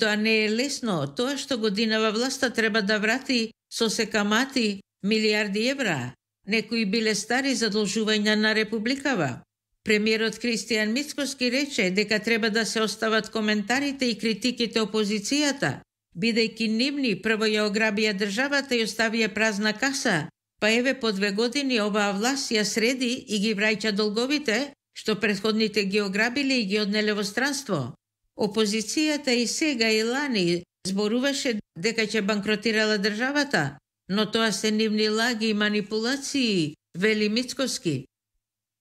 Тоа не е лесно. Тоа што годинава власта треба да врати со се камати милиарди евра. Некои биле стари задолжувања на републикава. Премиерот Кристијан Мицкоски рече дека треба да се остават коментарите и критиките опозицијата, бидејќи нивни прво ја ограбија државата и оставија празна каса, па еве по 2 години оваа власт ја среди и ги враќа долговите, што претходните ги ограбиле и ги однеле во странство. Опозицијата и сега и лани зборуваше дека ќе банкротирала државата, но тоа се нивни лаги и манипулации, вели Мицкоски.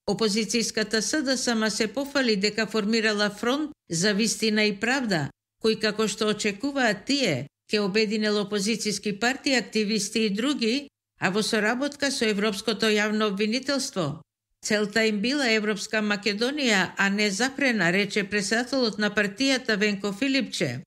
Опозицијската СДСМ се пофали дека формирала фронт за вистина и правда, кој како што очекуваат тие, ќе обединел опозицијски партии, активисти и други, а во соработка со Европското јавно обвинителство. Целта им била Европска Македонија, а не запрена, рече председателот на партијата Венко Филипче.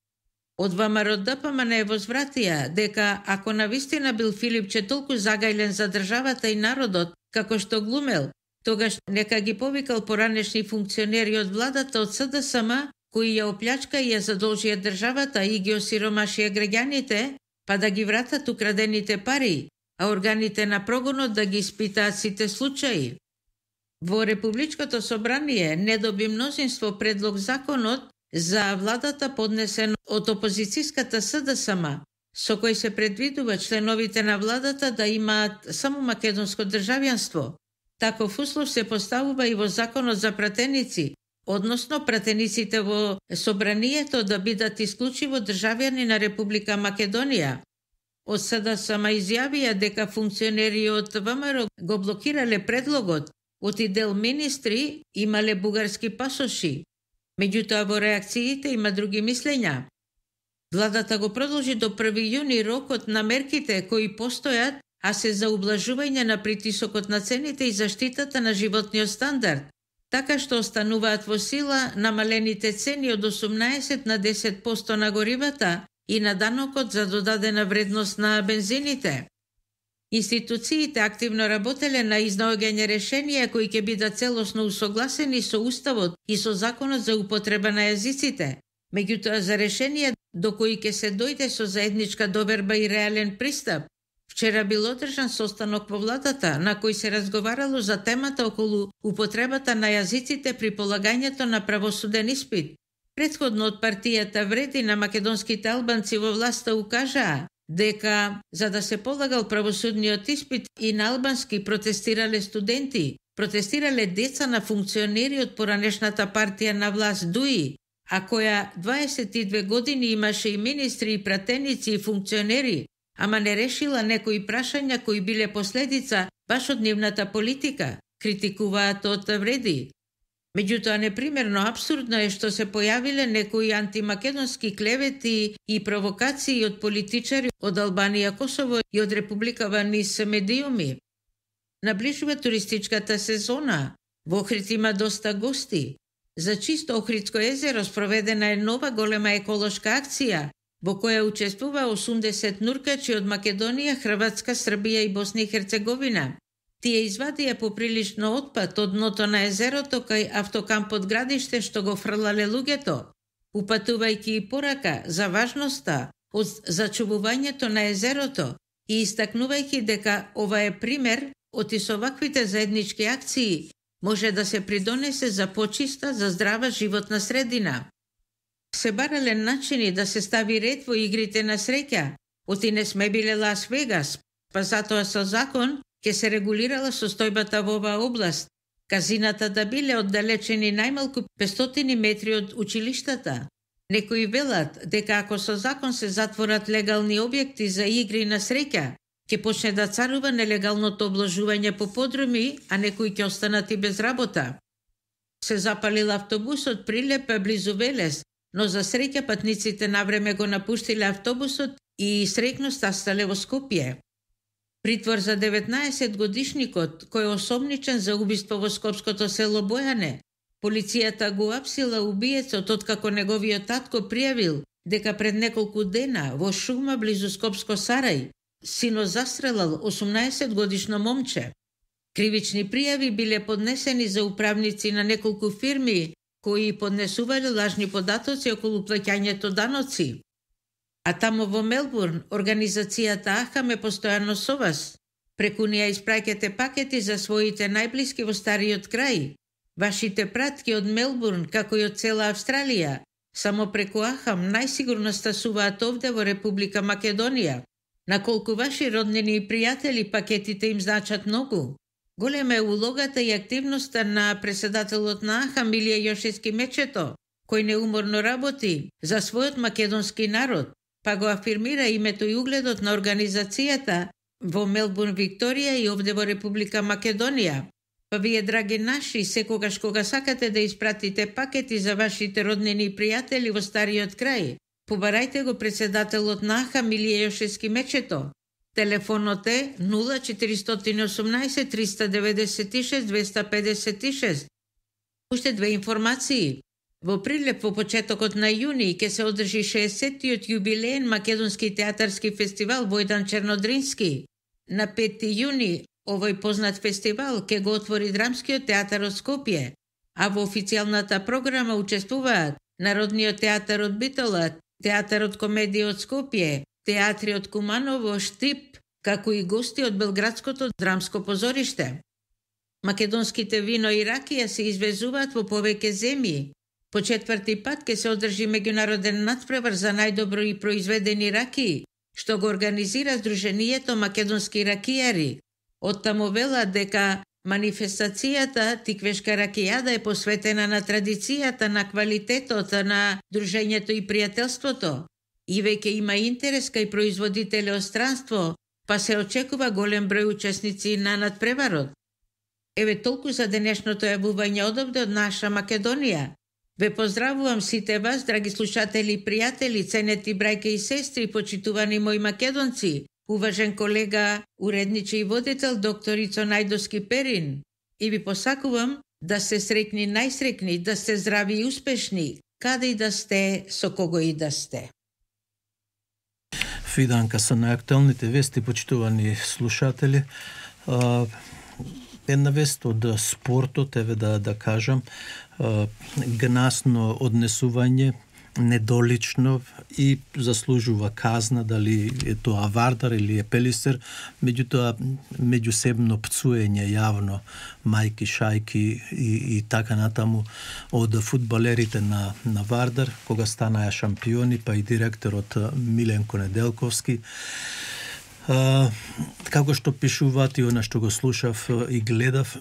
Од ВМРО ДПМН возвратија дека ако навистина бил Филипче толку загајлен за државата и народот, како што глумел, тогаш нека ги повикал поранешни функционери од владата од СДСМ, кои ја оплячка и ја задолжија државата и ги осиромашија граѓаните, па да ги вратат украдените пари, а органите на прогонот да ги испитаат сите случаи. Во Републичкото собрание не доби мнозинство предлог законот за владата поднесен од опозицијската СДСМ, со кој се предвидува членовите на владата да имаат само македонско државјанство. Таков услов се поставува и во законот за пратеници, односно пратениците во собранието да бидат исклучиво државјани на Република Македонија. Од СДСМ изјавија дека функционери од ВМРО го блокирале предлогот, оти дел министри имале бугарски пасоши. Меѓутоа во реакциите има други мислења. Владата го продолжи до 1 јуни рокот на мерките кои постојат, а се за ублажување на притисокот на цените и заштитата на животниот стандард, така што остануваат во сила намалените цени од 18 на 10% на горивата и на данокот за додадена вредност на бензините. Институциите активно работеле на изнаоѓање решенија кои ќе бидат целосно усогласени со Уставот и со Законот за употреба на јазиците. Меѓутоа за решенија до кои ќе се дојде со заедничка доверба и реален пристап. Вчера бил одржан состанок во владата на кој се разговарало за темата околу употребата на јазиците при полагањето на правосуден испит. Претходно од партијата Вреди на македонските албанци во власта укажаа дека за да се полагал правосудниот испит и на албански протестирале студенти, протестирале деца на функционери од поранешната партија на власт ДУИ, а која 22 години имаше и министри и пратеници и функционери, ама не решила некои прашања кои биле последица баш од нивната политика, критикуваат од Вреди. Меѓутоа, непримерно апсурдно е што се појавиле некои антимакедонски клевети и провокации од политичари од Албанија, Косово и од Република низ медиуми. Наближува туристичката сезона. Во Охрид има доста гости. За чисто Охридско езеро спроведена е нова голема еколошка акција, во која учествува 80 нуркачи од Македонија, Хрватска, Србија и Босна и Херцеговина. Тие извадија поприлично отпад од дното на езерото кај автокампот Градиште што го фрлале луѓето, упатувајќи и порака за важноста од зачувувањето на езерото и истакнувајќи дека ова е пример од и со ваквите заеднички акции може да се придонесе за почиста, за здрава животна средина. Се барале начини да се стави ред во игрите на среќа, оти не сме биле Лас Вегас, па затоа со закон ќе се регулирала состојбата во оваа област. Казината да биле оддалечени најмалку 500 метри од училиштата. Некои велат дека ако со закон се затворат легални објекти за игри на среќа, ќе почне да царува нелегалното обложување по подруми, а некои ќе останат и без работа. Се запалил автобусот Прилепа близу Велес, но за среќа патниците навреме го напуштиле автобусот и среќно стастале во Скопје. Притвор за 19 годишникот, кој е осомничен за убиство во скопското село Бојане. Полицијата го апсила убиецот откако неговиот татко пријавил дека пред неколку дена во шума близу Скопско Сарај сино застрелал 18 годишно момче. Кривични пријави биле поднесени за управници на неколку фирми кои поднесувале лажни податоци околу плаќањето даноци. А тамо во Мелбурн, организацијата АХАМ е постојано со вас. Преку неа испраќате пакети за своите најблиски во стариот крај. Вашите пратки од Мелбурн, како и од цела Австралија, само преку АХАМ најсигурно стасуваат овде во Република Македонија. Наколку ваши роднини и пријатели пакетите им значат многу. Голема е улогата и активноста на председателот на АХАМ Илија Јошевски Мечето, кој неуморно работи за својот македонски народ, па го афирмира името и угледот на организацијата во Мелбурн, Викторија и овде во Република Македонија. Па вие, драги наши, секогаш кога сакате да испратите пакети за вашите роднини и пријатели во стариот крај, побарајте го председателот на АХАМ Илија Јошевски Мечето. Телефонот е 0418 396 256. Уште две информации. Во Прилеп во почетокот на јуни ќе се одржи 60-тиот јубилеен македонски театарски фестивал Војдан Чернодрински. На 5 јуни овој познат фестивал ќе го отвори Драмскиот театар од Скопје, а во официјалната програма учествуваат Народниот театар од Битола, Театарот комедија од Скопје, театри од Куманово, Штип, како и гости од Белградското драмско позориште. Македонските вино и ракија се извезуваат во повеќе земји. По 4ти пат ќе се одржи меѓународен надпревар за најдобро и произведени ракии, што го организира Сдруженијето македонски ракијари. Оттаму велат дека манифестацијата Тиквешка ракијада е посветена на традицијата, на квалитетот, на дружењето и пријателството. И веќе има интерес кај производители од странство, па се очекува голем број учесници на надпреварот. Еве толку за денешното јавување одовде од наша Македонија. Ве поздравувам сите вас, драги слушатели и пријатели, ценети брајке и сестри, почитувани мои македонци, уважен колега, уредниче и водител доктор Ицо Најдовски Перин. И ви посакувам да сте среќни, најсреќни, да сте здрави и успешни, каде и да сте, со кого и да сте. Фиданка со најактуелните вести, почитувани слушатели. Една вест од спортот, еве да кажам, гнасно однесување, недолично и заслужува казна, дали е тоа Вардар или е Пелистер, меѓутоа меѓусебно пцуење јавно мајки, шајки и така натаму од фудбалерите на Вардар, кога станаа шампиони, па и директорот Миленко Неделковски. Како што пишуваат и она што го слушав и гледав,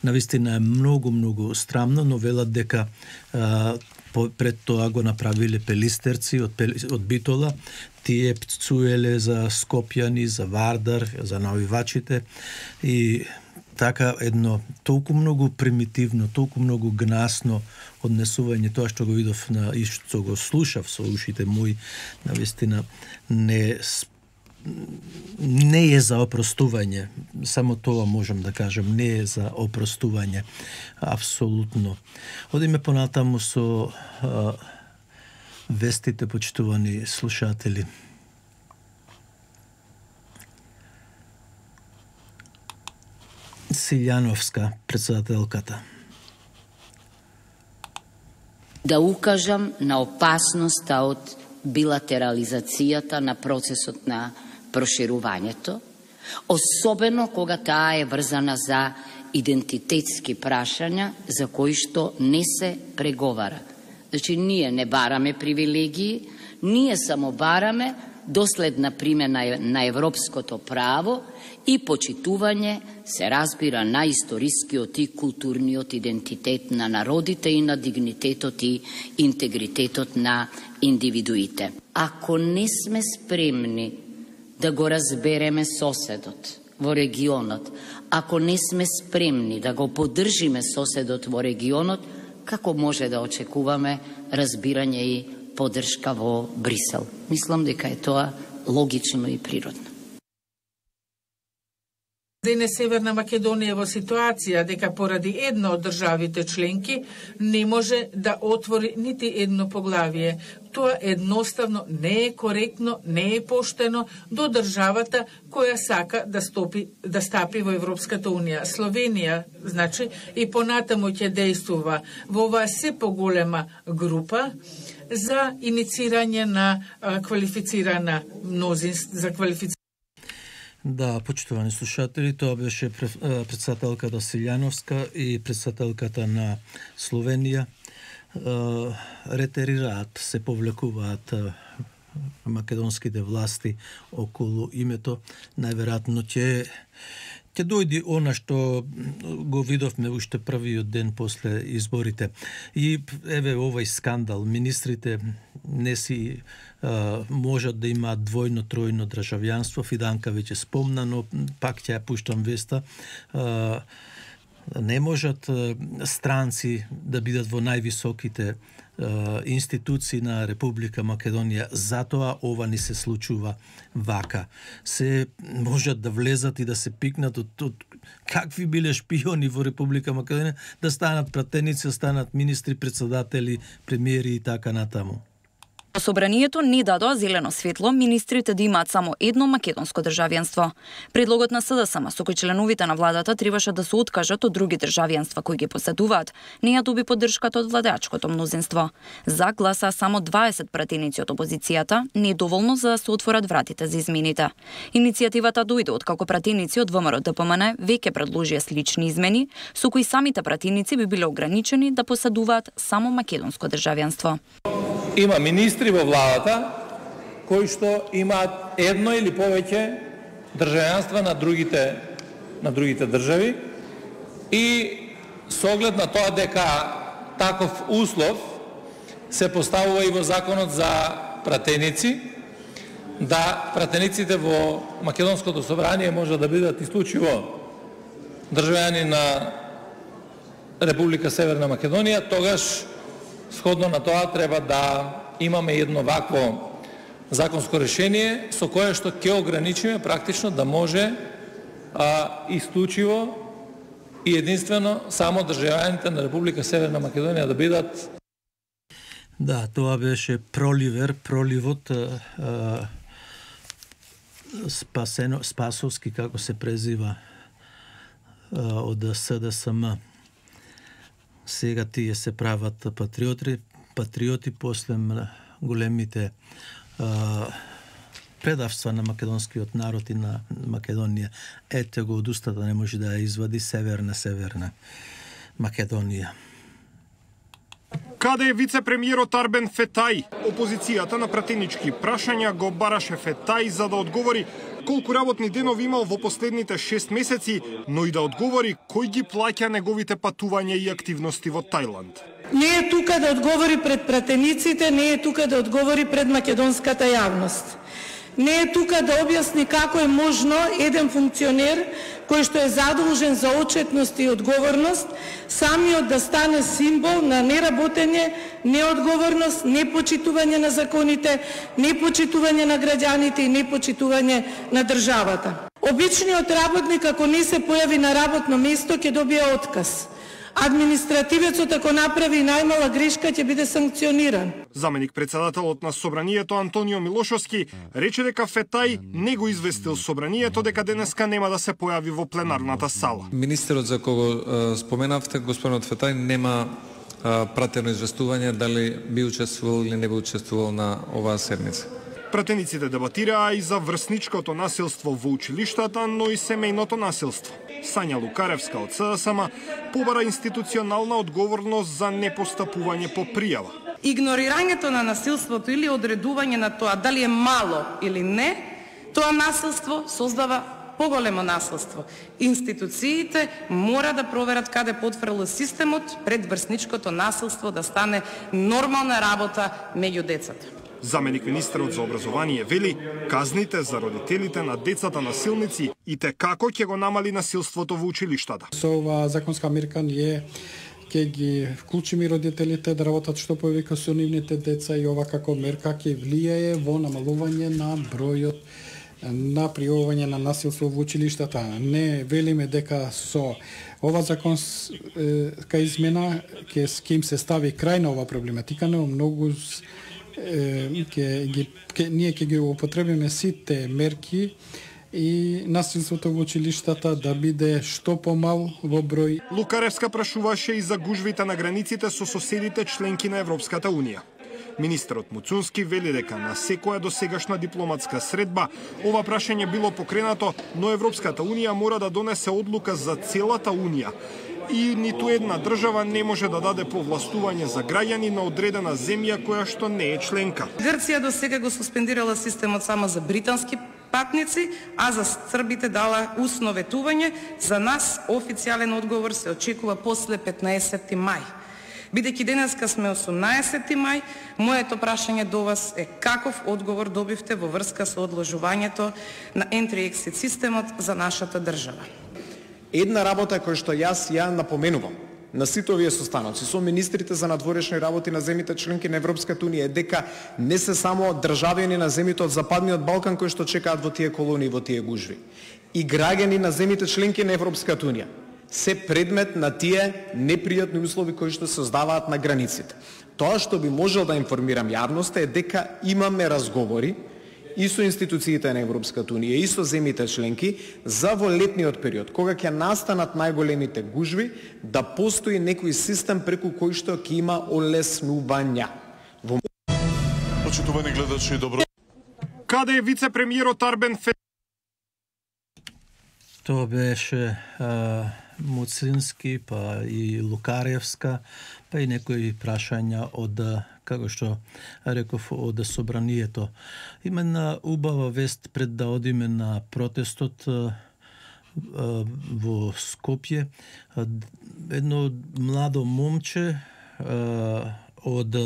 навистина е многу страмно, но велат дека пред тоа го направиле пелистерци од Битола, тие пцуеле за скопјани, за Вардар, за навивачите и така едно толку многу примитивно, толку многу гнасно однесување, тоа што го видов и што го слушав со ушите мои, навистина не е за опростување, само тоа можам да кажам, не е за опростување, апсолутно. Одиме понатаму со вестите, почитувани слушатели. Силјановска, председателката. Да укажам на опасноста од билатерализацијата на процесот на проширувањето, особено кога таа е врзана за идентитетски прашања за кои што не се преговара. Значи, ние не бараме привилегии, ние само бараме доследна примена на европското право и почитување, се разбира, на историскиот и културниот идентитет на народите и на дигнитетот и интегритетот на индивидуите. Ако не сме спремни да го разбереме соседот во регионот, ако не сме спремни да го поддржиме соседот во регионот, како може да очекуваме разбирање и поддршка во Брисел? Мислам дека е тоа логично и природно. Денес Северна Македонија во ситуација дека поради една од државите членки не може да отвори нити едно поглавие. Тоа едноставно не е коректно, не е поштено до државата која сака да стапи во Европската Унија. Словенија, значи, и понатаму ќе действува во оваа се поголема група за иницирање на квалифицирана мнозинство, Да, почитувани слушатели, тоа беше председателката Силјановска и председателката на Словенија. Ретерираат, се повлекуваат македонските власти околу името. Најверојатно ќе дојде она што го видовме уште првиот ден после изборите. И еве овој скандал, министрите не си можат да имаат двојно, тројно државјанство. Фиданка веќе спомна, но пак ќе ја пуштам веста. Не можат странци да бидат во највисоките институции на Република Македонија. Затоа ова ни се случува вака. Се можат да влезат и да се пикнат од какви биле шпиони во Република Македонија, да станат пратеници, да станат министри, председатели, премиери и така натаму. Собранието не дадоа зелено светло министрите да имаат само едно македонско државјанство. Предлогот на СДСМ со кој членовите на владата требаше да се откажат од други државјанства кои ги поседуваат, не ја доби поддршката од владеачкото мнозинство. За гласаа само 20 пратеници од опозицијата, не е доволно за да се отворат вратите за измените. Иницијативата дојде од како пратеници од ВМРО ДПМН веќе предложија слични измени, со кои самите пратеници би биле ограничени да поседуваат само македонско државјанство. Има министри во владата кои што имаат едно или повеќе државјанства на другите држави и со оглед на тоа дека таков услов се поставува и во законот за пратеници, да пратениците во Македонското собрание може да бидат исклучиво државјани на Република Северна Македонија, тогаш сходно на тоа треба да имаме едно вакво законско решение со кое што ќе ограничиме практично да може исклучиво и единствено само државјаните на Република Северна Македонија да бидат. Да, тоа беше проливот Спасовски, како се презива, од СДСМ. Сега тие се прават патриоти после големите предавства на македонскиот народ и на Македонија. Ете го од устата не може да ја извади Северна Македонија. Каде е вице-премиерот Арбен Фетај? Опозицијата на пратенички прашања го бараше Фетај за да одговори колку работни денови имал во последните 6 месеци, но и да одговори кој ги плаќа неговите патувања и активности во Тајланд. Не е тука да одговори пред пратениците, не е тука да одговори пред македонската јавност. Не е тука да објасни како е можно еден функционер кој што е задолжен за отчетност и одговорност, самиот да стане символ на неработење, неодговорност, непочитување на законите, непочитување на граѓаните и непочитување на државата. Обичниот работник, ако не се појави на работно место, ќе добие отказ. Административецот, ако направи најмала грешка, ќе биде санкциониран. Заменик председателот на Собранието Антонио Милошовски рече дека Фетај не го известил Собранието дека денеска нема да се појави во пленарната сала. Министерот за кого споменавте, господинот Фетај, нема пратено известување дали би учествувал или не би учествувал на оваа седница. Пратениците дебатираа и за врсничкото насилство во училиштата, но и семејното насилство. Сања Лукаревска од СДСМ побара институционална одговорност за непостапување по пријава. Игнорирањето на насилството или одредување на тоа дали е мало или не, тоа насилство создава поголемо насилство. Институциите мора да проверат каде потфрло системот пред врсничкото насилство да стане нормална работа меѓу децата. Заменик министерот за образование вели, казните за родителите на децата насилници и те како ќе го намали насилството во училиштата. Со оваа законска мерка ние ќе ги вклучиме родителите да работат што повеќе со нивните деца и ова како мерка ќе влијае во намалување на бројот на пријавување на насилство во училиштата. Не велиме дека со ова законска измена ќе им се стави крај на ова проблематика, но многу ние ќе ги употребиме сите мерки и насилството во училиштата да биде што помал во број. Лукаревска прашуваше и за гужвите на границите со соседите членки на Европската Унија. Министерот Муцунски вели дека на секоја досегашна дипломатска средба ова прашање било покренато, но Европската Унија мора да донесе одлука за целата Унија. И ниту една држава не може да даде повластување за граѓани на одредена земја која што не е членка. Грција до сега го суспендирала системот само за британски патници, а за србите дала усно ветување. За нас официјален одговор се очекува после 15 мај. Бидејќи денеска сме 18 мај, моето прашање до вас е каков одговор добивте во врска со одложувањето на Entry-Exit системот за нашата држава? Една работа која што јас ја напоменувам на сите овие состаноци со министрите за надворешни работи на земјите членки на Европската Унија е дека не се само државјани на земјите од Западниот Балкан кои што чекаат во тие колонии, во тие гужви. И граѓани на земјите членки на Европската Унија се предмет на тие непријатни услови кои што се создаваат на границите. Тоа што би можел да информирам јавноста е дека имаме разговори и со институциите на Европската Унија и со земјите членки за во летниот период, кога ќе настанат најголемите гужви, да постои некој систем преку кој што ќе има олеснувања. Почитувани гледачи, добро. Каде е вице-премиерот Арбен Фетај? Тоа беше Муцински, па и Лукаревска, па и некои прашања од, како што реков, од собранието. Има една убава вест пред да одиме на протестот во Скопје. Едно младо момче од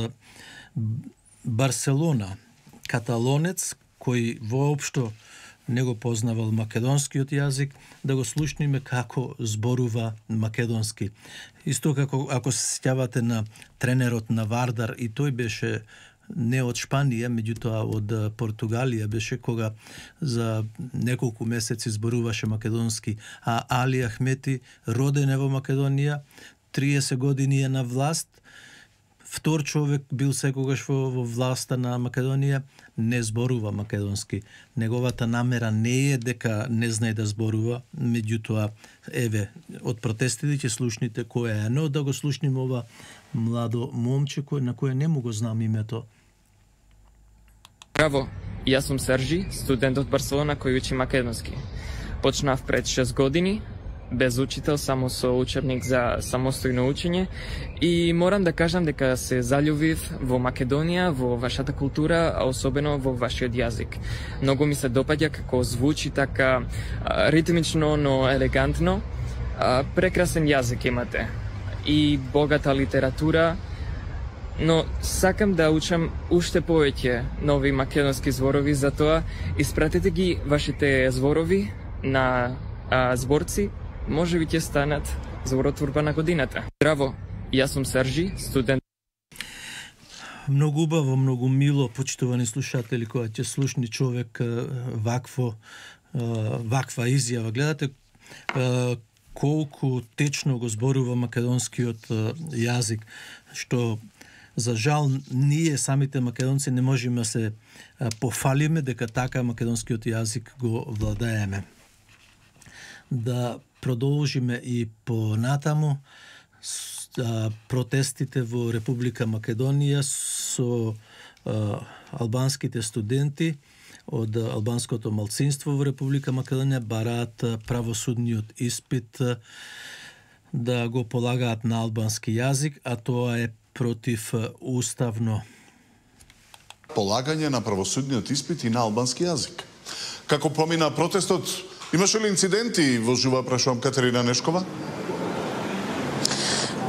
Барселона, каталонец, кој воопшто не го познавал македонскиот јазик, да го слушниме како зборува македонски. Исто како ако се сеќавате на тренерот на Вардар, и тој беше не од Шпанија, меѓутоа од Португалија беше, кога за неколку месеци зборуваше македонски, а Али Ахмети, роден е во Македонија, 30 години е на власт, втор човек бил секогаш во власта на Македонија, не зборува македонски. Неговата намера не е дека не знае да зборува, меѓутоа, еве, од протестите ќе слушните кој е, но да го слушнем ова младо момче на кое не му го знам името. Браво, јас сум Сержи, студент од Барселона кој учи македонски. Почнав пред 6 години, без учител, само со учебник за самостојно учење, и морам да кажам дека се заљубив во Македонија, во вашата култура, а особено во вашиот јазик. Многу ми се допаѓа како звучи така ритмично, но елегантно. Прекрасен јазик имате и богата литература, но сакам да учам уште повеќе нови македонски зборови, затоа испратете ги вашите зборови на зборци, може би ќе станат зборотворба на годината. Здраво, јас сум Сержи, студент. Многу убаво, многу мило, почитувани слушатели, кога ќе слушни човек ваква изјава. Гледате колку течно го зборува македонскиот јазик, што за жал ние самите македонци не можеме да се пофалиме дека така македонскиот јазик го владееме. Да продолжиме и понатаму протестите во Република Македонија со албанските студенти од албанското малцинство во Република Македонија бараат правосудниот испит да го полагаат на албански јазик, а тоа е против уставно. Полагање на правосудниот испит и на албански јазик. Како помина протестот, имаше ли инциденти во жива, прашувам Катерина Нешкова?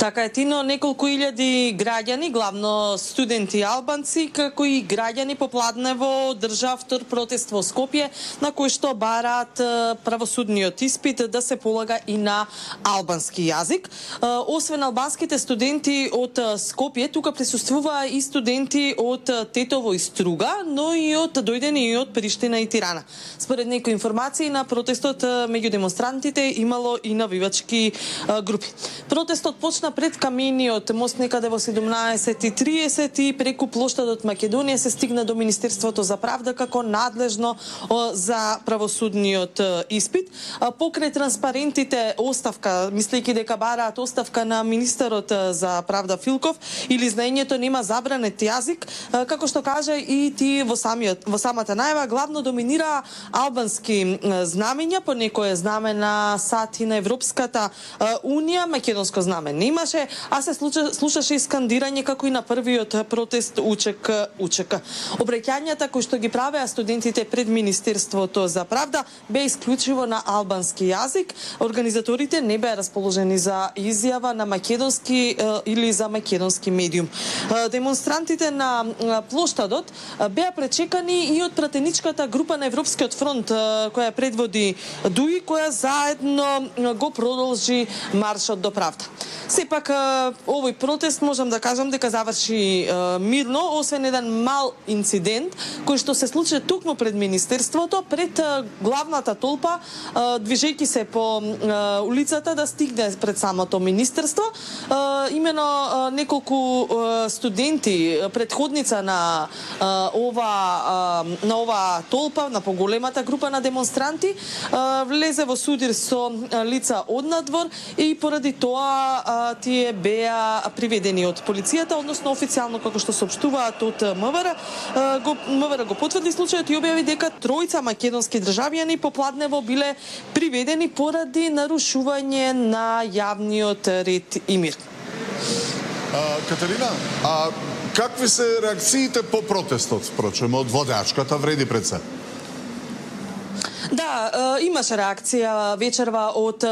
Така е, Тино, неколку илјади граѓани, главно студенти албанци, како и граѓани попладнево одржаа втор протест во Скопје, на кој што бараат правосудниот испит да се полага и на албански јазик. Освен албанските студенти од Скопје, тука присуствуваа и студенти од Тетово и Струга, но и дојдени и од Приштина и Тирана. Според некои информации на протестот меѓу демонстрантите имало и навивачки групи. Протестот почна пред камениот мост некаде во 17:30 и преку плоштадот Македонија се стигна до Министерството за правда како надлежно за правосудниот испит. Покрај транспарентите оставка, мислејќи дека бараат оставка на министерот за правда Филков или знаењето нема забранет јазик, како што кажа и ти во самата најава, главно доминира албански знамења, по некое знаме на сати на Европската Унија, македонско знаме немаше, а се слушаше и скандирање како и на првиот протест Учек. Обраќањата кои што ги правеа студентите пред Министерството за правда бе исклучиво на албански јазик. Организаторите не беа расположени за изјава на македонски или за македонски медиум. Демонстрантите на плоштадот беа пречекани и од пратеничката група на Европскиот фронт која предводи Дуи, која заедно го продолжи маршот до правда. Сепак овој протест можам да кажам дека заврши мирно, освен еден мал инцидент кој што се случи токму пред Министерството, пред главната толпа, движејќи се по улицата да стигне пред самото Министерство. Имено неколку студенти, предходница на ова толпа, на поголемата група на демонстранти, влезе во судир со лица од надвор и поради тоа тие беа приведени од полицијата, односно официјално како што соопштуваат од МВР. МВР го потврди случајот и објави дека тројца македонски државјани попладнево биле приведени поради нарушување на јавниот ред и мир. Катерина, какви се реакциите по протестот, впрочем, од водачката Вреди пред се? Да, имаше реакција вечерва од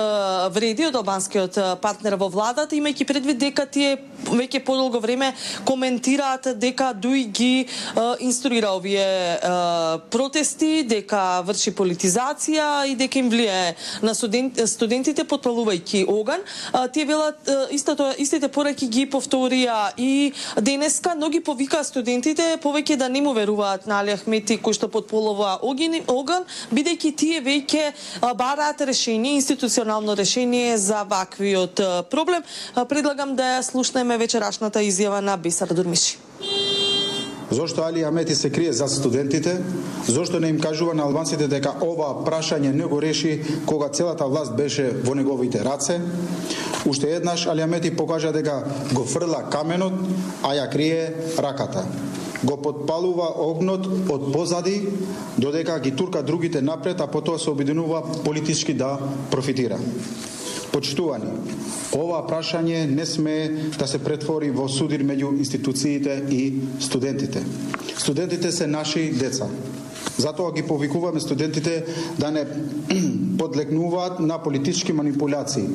Вреди, од албанскиот партнер во владата, имајќи предвид дека тие веќе подолго време коментираат дека Дуи ги инструира овие протести, дека врши политизација и дека им влијае на студентите подпалувајќи оган. Тие велат истите пораки ги повторија и денеска, но ги повикаа студентите повеќе да не му веруваат на Али Ахмети кој што подпалува оган, бидејќи тие веќе бараат решение, институционално решение за ваквиот проблем. Предлагам да ја слушнеме вечерашната изјава на Бисар Дурмиши. Зошто Али Ахмети се крие за студентите? Зошто не им кажува на албанците дека ова прашање не го реши кога целата власт беше во неговите раце? Уште еднаш Али Ахмети покажа дека го фрла каменот, а ја крие раката. Го подпалува огнот од позади, додека ги турка другите напред, а потоа се обединува политички да профитира. Почитувани, ова прашање не сме да се претвори во судир меѓу институциите и студентите. Студентите се наши деца. Затоа ги повикуваме студентите да не подлегнуваат на политички манипулации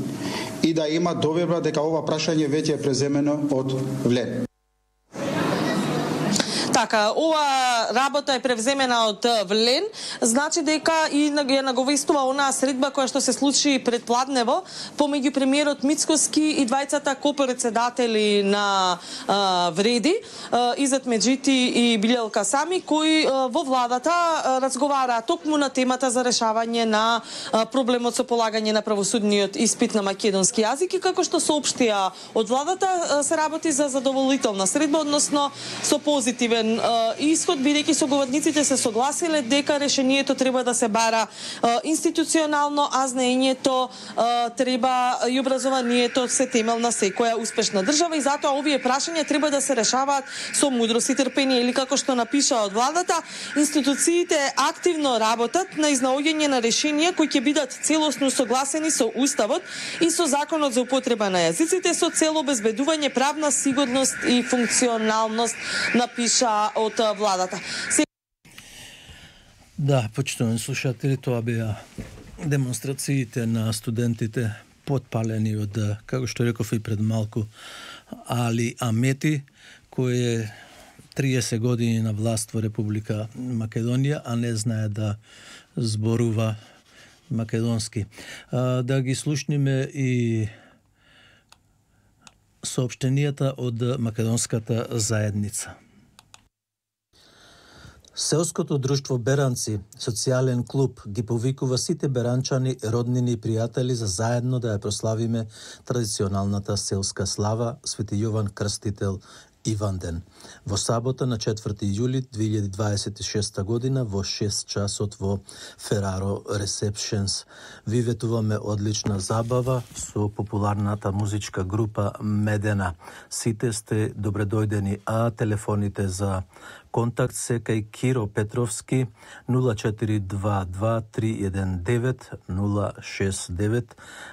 и да имаат доверба дека ова прашање веќе е преземено од ВЛЕ. Така, ова работа е превземена од ВЛЕН, значи дека и ја наговестува онаа средба која што се случи предпладнево помеѓу премиерот Мицкоски и двајцата копредседатели на Вреди, Изет Меджити и Билјел Касами, кои во владата разговараа токму на темата за решавање на проблемот со полагање на правосудниот испит на македонски јазик и како што соопштија од владата се работи за задоволителна средба, односно со позитивен исход, бидејќи соговорниците се согласиле дека решението треба да се бара институционално, а знаењето треба и образованието се темел на секоја успешна држава и затоа овие прашања треба да се решаваат со мудрост и трпение или како што напиша од владата, институциите активно работат на изнаоѓање на решенија кои ќе бидат целосно согласени со Уставот и со Законот за употреба на јазиците со цел обезбедување правна сигурност и функционалност, напиша од владата. Да, почитувани слушатели, тоа беа демонстрациите на студентите потпалени од, како што реков и пред малку, Али Амети, кој е 30 години на власт во Република Македонија, а не знае да зборува македонски. Да ги слушниме и соопштенијата од македонската заедница. Селското друштво Беранци, социјален клуб, ги повикува сите беранчани, роднини и пријатели за заедно да ја прославиме традиционалната селска слава Свети Јован Крстител Иванден. Во сабота на 4 јули 2026 година во 6 часот во Фераро Ресепшенс. Ви ветуваме одлична забава со популарната музичка група Медена. Сите сте добредојдени, а телефоните за контакт се кај Киро Петровски 0422 319 069,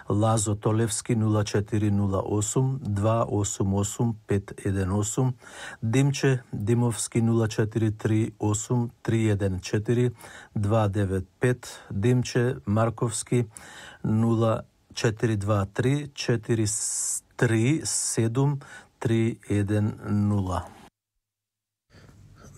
Лазо Толевски 0408 288 518, Димче Димовски 0438 314 295, Димче Марковски 0423 437 310.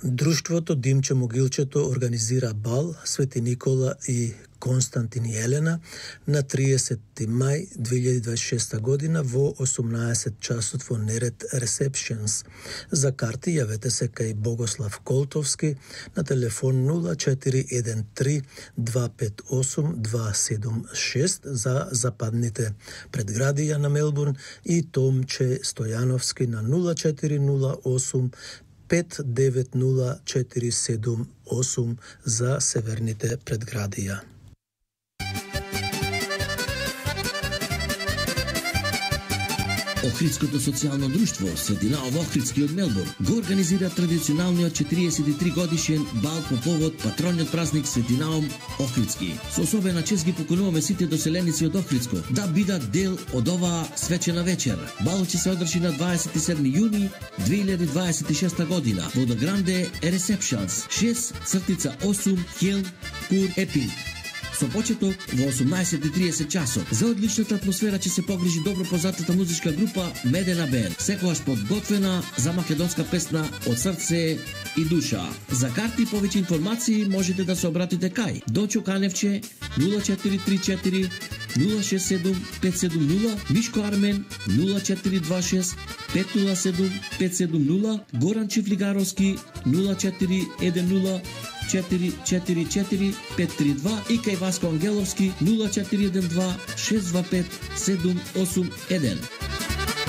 Друштвото Димче Могилчето организира бал Свети Никола и Константин и Елена на 30 мај 2026 година во 18 часот во Нерет Ресепшенс. За карти јавете се кај Богослав Колтовски на телефон 0413 258 276 за западните предградија на Мелбурн и Томче Стојановски на 0408 590478 за северните предградија. Охридското социјално друштво Светинао Охридски од Мелбурн го организира традиционалниот 43 годишен бал по повод патрониот празник Светинао Охридски. Со особена чест ги покануваме сите доселеници од Охридско да бидат дел од оваа свечена вечер. Балот ќе се одржи на 27 јуни 2026 година во The Grande Receptions 6/8 Hill Court Epping. Со почеток во 18:30 часот. За одличната атмосфера ќе се погрижи добро познатата музичка група Медена Бенд, секогаш подготвена за македонска песна од срце и душа. За карти и повеќе информации можете да се обратите кај Дочо Каневче 0434 067 570, Мишко Армен 0426 507 570, Горан Чифлигаровски 0410 444 532 и кај Васко Ангеловски 0412 625 781.